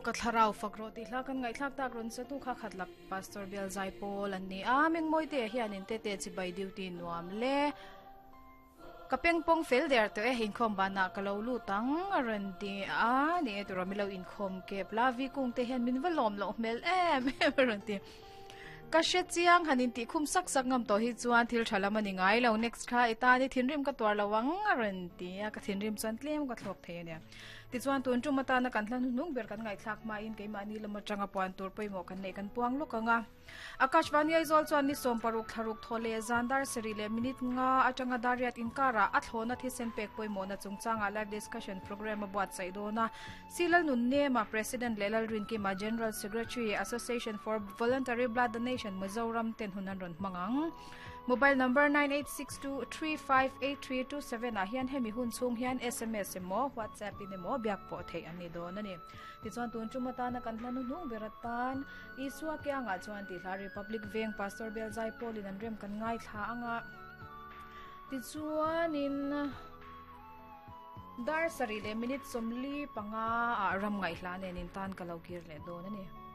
Ka thlarau fak rawh tih hla kan ngaihthlak tak rawn sa tu kha khat lak Pastor Bial Zai Pawl an ni a, Mengmawite hianin tete chibai duty nuam le. Ka pengpawng fel der tawh e, inkhawm banah ka lo lut ang a rawn ti a, ni e turaw mi lo inkhawm kep la, vi kung te hian min va lawm loh hmel em em a rawn ti. Ka hre chiang han intih khum sak sak ngam tawh hi chuan thil tha lam a ni ngai lo, next kha i tan i thinrim ka tuar lo ang a rawn ti a, ka thinrim chuan tlem ka thlawk thei a nia. Tichuan tun tum atana kan hla hnuhnung ber kan ngaihthlak hmain keimahni lam atanga puan tur pawimawh kan neih kan puang lawk ang a. Akashvani Aizawl chuan ni 60 thlaruk thaw leh zan dar sarih leh minute nga atanga dar riat inkarah a thlawhna thisen pek pawimawhna chungchangah live discussion programme a buatsaih dawn a. Silal Nunnema, President leh Lalrinkima, General Secretary, Association for Voluntary Blood Donation, Mizoram ten hun an rawn hmang ang. Mobile number 9862358327 ah hian hemi hun chhung hian sms emaw WhatsApp in emaw biak pawh theih an ni dawn a ni. Tichuan tun tum atana kan hla hnuhnung ber atan Isua kiangah chuan tih hla Republic Veng Pastor Bial Zaipawl in an rem kan ngaithla anga tichuanin dar sarih leh minute 45 ah ram ngaihhla nen in tan ka lo kir leh dawn a ni.